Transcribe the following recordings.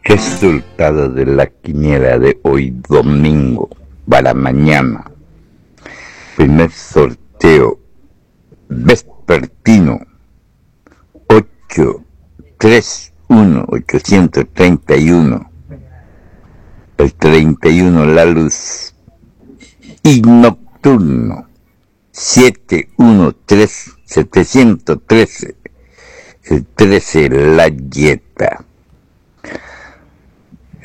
Resultado de la quiniela de hoy domingo para mañana. Primer sorteo vespertino 8 3 1 831. El 31 la luz y nocturno 7 1 3 713. El 13 la yeta.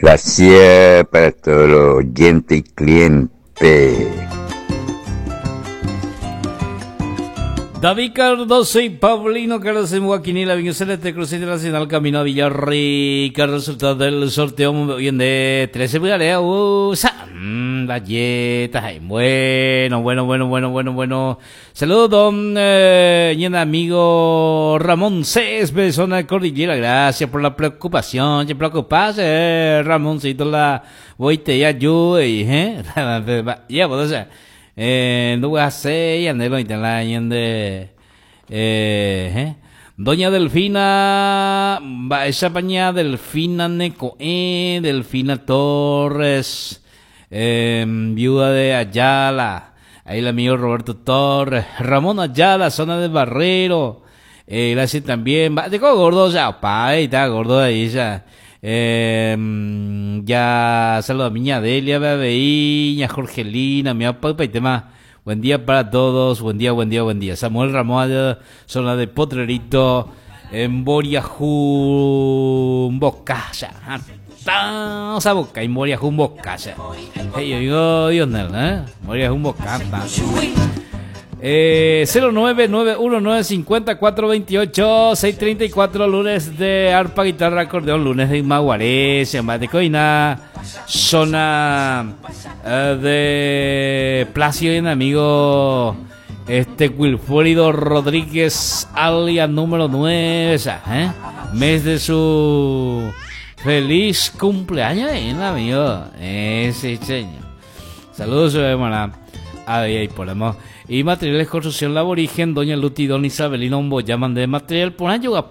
Gracias para todos los oyentes y clientes. David Cardoso y Paulino Carlos en Guaquinila, Viño Celeste, Cruz Internacional, Camino a Villarrica, resultado del sorteo bien de 13 usa, galleta, bueno, bueno, bueno, bueno, bueno, bueno. Saludos, don eh, amigo Ramón Céspedes, zona de Cordillera, gracias por la preocupación, se preocupas, eh, Ramoncito, la voy te ayude, eh, ya, pues, o sea, eh, nduguaséi ñande roĩta la ñande eh, Doña Delfina, mba'éichapa ña Delfina neko'ẽ, Delfina Torres, eh, viuda de Ayala, ahí el amigo Roberto Torres, Ramón Ayala, zona de Barrero, eh, gracias también, mba'éiko gordo ya, opa, ahí está gordo ahí ya. Eh, ya saludo a miña Delia, avei, ña Jorgelina, mi tema. Buen día para todos, buen día, buen día, buen día. Samuel Ramón, zona de Potrerito, en Boriajú, Bocaya. Boca, en Boriajú, Bocaya. Hey, oigo, Dios, ¿eh? Boriajú, Bocata. Eh, 0991950428 634 lunes de arpa, guitarra, acordeón, lunes de Maguaré, de Coina, zona eh, de Plácido y amigo este Wilfrido Rodríguez, alias número 9, ¿eh? mes de su feliz cumpleaños, ¿eh, amigo? Ese señor. Saludos, hermana. Ahí, ahí ponemos. Y materiales construcción laborigen, doña Luti, don Isabelino, llaman de material, por año, la